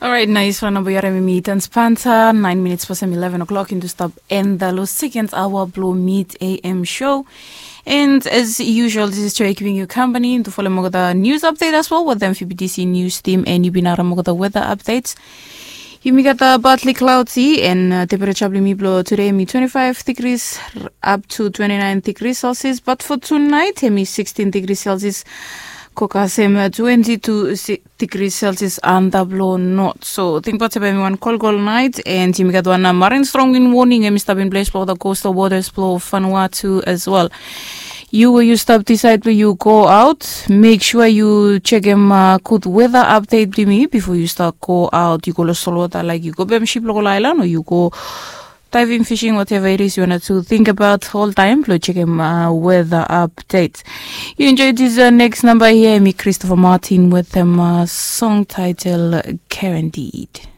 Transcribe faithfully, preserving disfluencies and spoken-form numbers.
Orait, nais wan namba yu harim mi, Tans Panta. Nine minutes past eleven o'clock, into stop and the low second hour below mid A M show. And as usual, this is Joy keeping you company into follow mogoda news update as well with them F B T C news team, and you bin harim mogoda weather updates. Yumi gat a partly cloudy and uh, temperature blong mi blo today mi twenty-five degrees up to twenty-nine degrees Celsius, but for tonight hemi sixteen degrees Celsius. Kokasem uh, twenty-two degrees Celsius under blo north. So think about hemi wan kolkol night, and yumi gat wan uh, marine strong wind warning hemi stap in place blo the coastal waters blo Vanuatu as well. You we yu stap decide blong yu go out, make sure yu chekem uh, good weather update blong mi before yu start go out. Yu go lo solwata, like yu go bem ship lo go lo island, o yu go diving, fishing, whatever it is you wanna do, think about all time blong chekem uh, weather update. You enjoy this uh, next number here, mi Christopher Martin with them uh, song title Guaranteed.